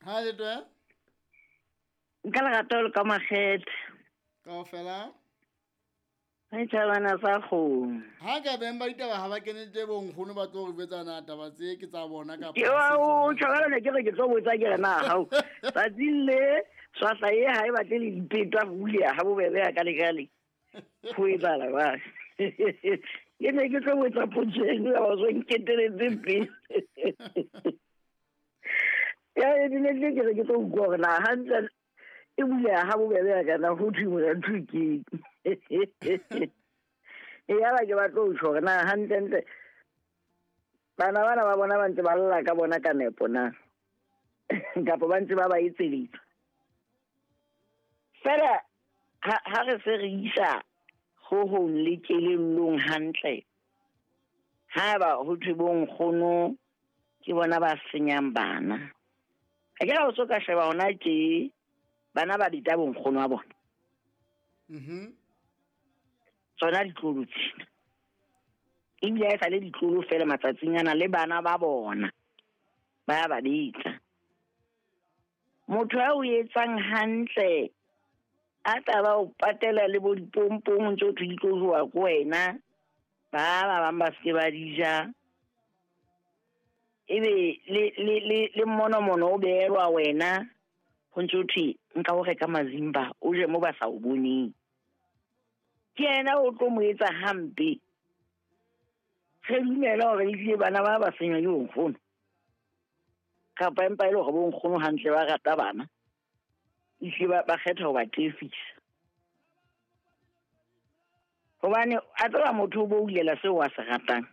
Ha le twe? Nka lerato le ka makgethe. Kaofela? Re tjhabana sa kgomo. Ha ka beng ba ditaba ha ba kene tse bonkgono ba tlo re jwetsa na taba tse ke tsa bona kapa Ke ha wa se o tsona. tjhabana ne ke re ke tlo botsa ke re na hao. Tsatsing le swahla e ha e batle le dipetwa ho buleha ha bobebe ya ka le ka le. Ho etsahala ba. Ke ne ke tlo botsa potso eno ya ba so nketeletse pele. Ya e ne ke re ke tlo utlwa hore na hantle e buleha ha bobebe ya kana ho thwe mora ntho ke. E yaba ke batlo ho tjho hore na hantlentle bana bana ba bona ba ntse ba lla ka bona ka nepo na kapa ba ntse ba ba etseletsa. Fela ha re se re isa ho hong le kelellong hantle, haeba ho thwe bo nkgono ke bona ba senyang bana. Ha ke ra o so ka sheba hona tje bana ba bita bo nkgono wa bona. Tsona ditlolo tsena. Ebile ha e sa le ditlolo fela matsatsing ana le bana ba bona ba ba betsa. Motho a o etsang hantle a tla ba o patela le bo dipompong ntse o thwe di tlo jowa ke wena, ba ba bang ba seke ba di ja. Ebe le mmonomono o behelwa wena ho ntse ho thwe nka o reka mazimba o je mo ba sa o boneng. Ke yena o tlo mo etsa hampe. Re dumela hore ehlile bana ba ba senywa ke bonkgono. Kapa empa e le hore bonkgono hantle ba rata bana. Ehlile ba kgetha ho ba tefisa. Hobane a tseba motho o boulela seo a se ratang.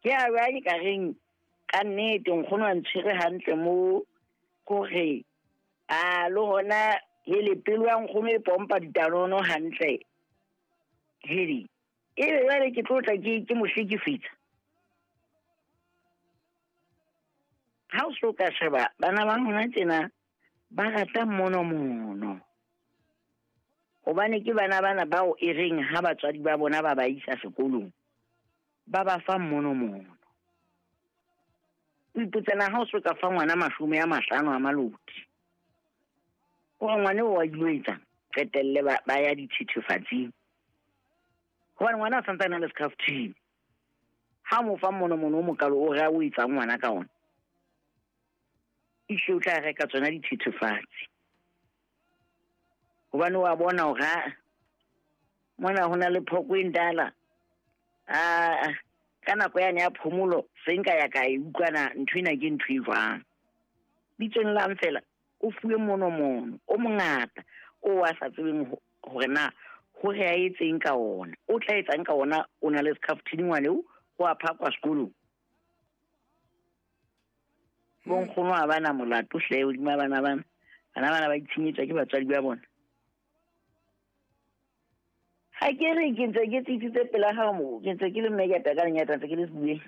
Ke a bua ke ka reng ka nnete nkgono a ntshwere hantle mo kore a le hona hele pelo ya nkgono e pompa ditanono hantle. Hele ebe jwale ke tlo tla ke mo hlekefetsa. Ha o so ka sheba bana ba hona tjena ba rata mmonomono. Hobane ke bana bana bao e reng ha batswadi ba bona ba ba isa sekolong ba ba fa mmonomono. O ipotsa na ha o so ka fa ngwana 50 a maloti. Hore ngwana o wa ilo etsang? Qetelle ba ya dithethefatsing. Hobane ngwana a santsane a le scarf-teng. Ha mo fa mmonomono o mokalo o re a o etsang ngwana ka ona. Ehlile o tla reka tsona dithethefatsi. Hobane wa bona hore ha mona ho na le phoko e ndala. A ka nako yane ya phomolo se nka ya ka e utlwana ntho ena ke ntho e jwang. Bitsong la fela o fuwe monomono o mongata o a sa tsebeng hore na hore a etseng ka ona. O tla etsang ka ona o na le scarf-tini ngwane o ho a phakwa sekolong. Bonkgono ha bana molato hle hodima bana bana. Bana bana ba itshenyetswa ke batswadi ba bona. Ha ke re ke ntse ke tsitsitse pela hao mo, ke ntse ke le mme ke ka lenyata ntse ke le sebueng.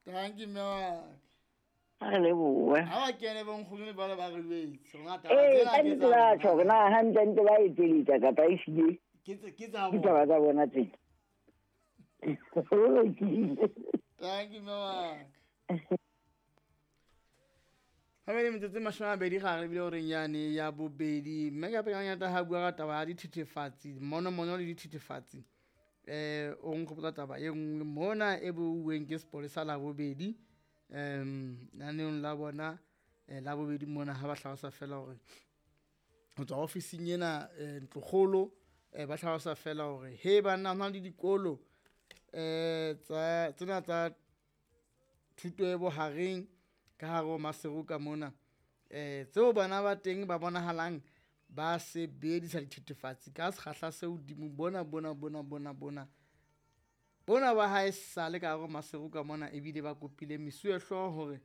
Thank you, mme wa ka. Ha re lebohe. Ha ba kene bonkgono le bona ba re jwetse. Rona taba Ee, tsena ka ke nnete tsa ba bona. tjho hore na hantle ntle ba etseletsa kapa e hlile. Ke tsa Ke bona. taba tsa bona tsena. Ho lokile. Thank you, mme wa ka. Ha bele metsotso e 20 gare ebile o reng yane ya bobedi. Mme ka pele ngata ha bua ka taba ya dithethefatsi, mmonomono le dithethefatsi. O nkgopotsa taba e nngwe mona e buuweng ke sepolesa la bobedi. Naneong la bona, la bobedi mona ha ba hlalosa fela hore ho tswa ofising ena, ntlokgolo, ba hlalosa fela hore he banna ho na le dikolo, tsa tsena tsa thuto e bohareng ka hare ho Maseru ka mona. Tseo bana ba teng ba bonahalang ba sebedisa dithethefatsi ka sekgahla se hodimo bona, bona, bona, bona, bona. Bona ba hae sale ka hare ho Maseru ka mona ebile ba kopile mesuwehlooho hore,